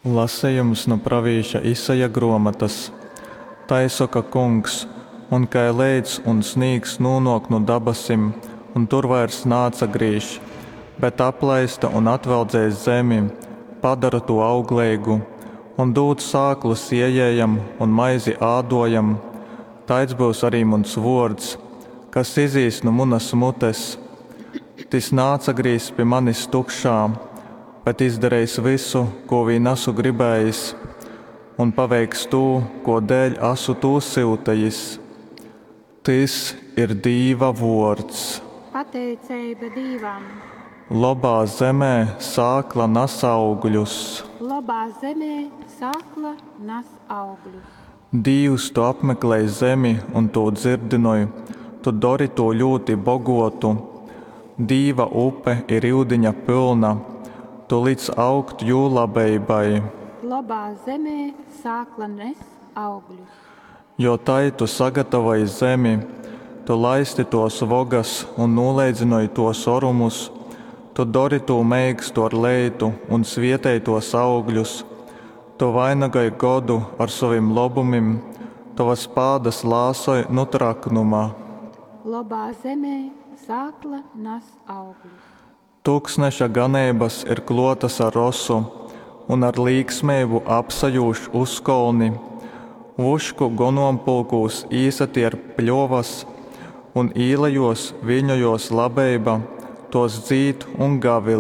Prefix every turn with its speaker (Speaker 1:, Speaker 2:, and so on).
Speaker 1: Lasejums nu pravīša Isaja grōmotas. Tai soka Kungs, Un kai leits un snīgs nūnōk nu dabasim un tur vairs naatsagrīž, bet aplaista un atveldzej zemi, padora tū augleigu un dūd sāklu sējējam un maizi ādōjam, taids byus ari muns vōrds, kas izīs nu munas mutes. Tys naatsagrīzs pi manis tukšā, bet izdareis vysu, kū vīn asu gribējis, un paveiks tū, kō dēļ asu tū syutejis. Tys ir Dīva vōrds.
Speaker 2: Pateiceiba Dīvam.
Speaker 1: Lobā zemē sākla nas augļus.
Speaker 2: Lobā zemē sākla nas augļus.
Speaker 1: Dīvs, tu apmeklej zemi un tū dzyrdynoj, tu dori tū ļūti bogōtu. Dīva upe ir yudiņa pylna, tu lic augt jū labeibai.
Speaker 2: Lobā zemē sākla nes augļus.
Speaker 1: Jo tai tu sagatavoj zemi, tu laisti tōs vogas un nūleidzynoj tōs orumus, tu dori tū meikstu ar leitu un svietej tōs augļus. Tu vainagoj godu ar sovim lobumim, tovas pādas lāsoj nu traknuma.
Speaker 2: Lobā zemē sākla nas augļus.
Speaker 1: Tuksneša ganeibas ir klōtas ar rosu un ar līksmeibu apsajūž uzkolni. Vušku gonompulkūs īsatierp pļovas, un īlejōs viļņojōs labeiba, tōs dzīd un gavilej.